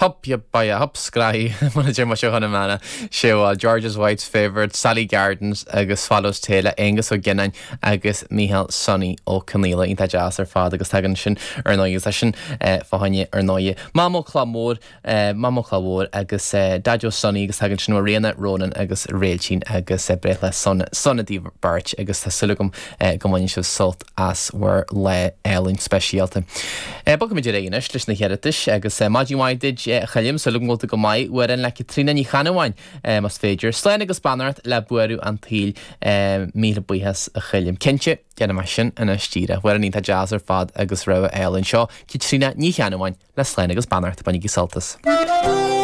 Hup, yup, ba hup, scraith, mar a deir muid i gConamara. Sé bhuel, George's Wife's Favourite, Sally Gardens agus Swallow's Tail le Aengus Ó Giolláin agus Mícheál Sonny Ó Conaola. Iontach deas ar fad agus tagann sin ar ndóigh agus tá sin fá choinne ar ndóigh Mamó Cloch Mhór, Mamó Cloch Mhór agus Daideo Sonny agus tagann sin ó Ríona, Ronan agus Réiltín agus breithlá sona sona daoibh beirt agus tá súil agam go mbaineann sibh sult as bhur lá álainn speisialta. Bogfaimid ar aghaidh anois leis na hiarratais agus maidin mhaith duit a Choilm, súil agam go bhfuil tú go maith. Amhrán le Caitríona Ní Cheannabháin más féidir. Slán agus beannacht le buaireamh an tsaoil. Míle buíochas a Choilm. Cinnte, déanfaidh mé sin anois díreach. Amhrán iontach deas ar fad agus rogha álainn. Seo Caitríona Ní Cheannabháin le Slán agus beannacht. Bainigí sult as.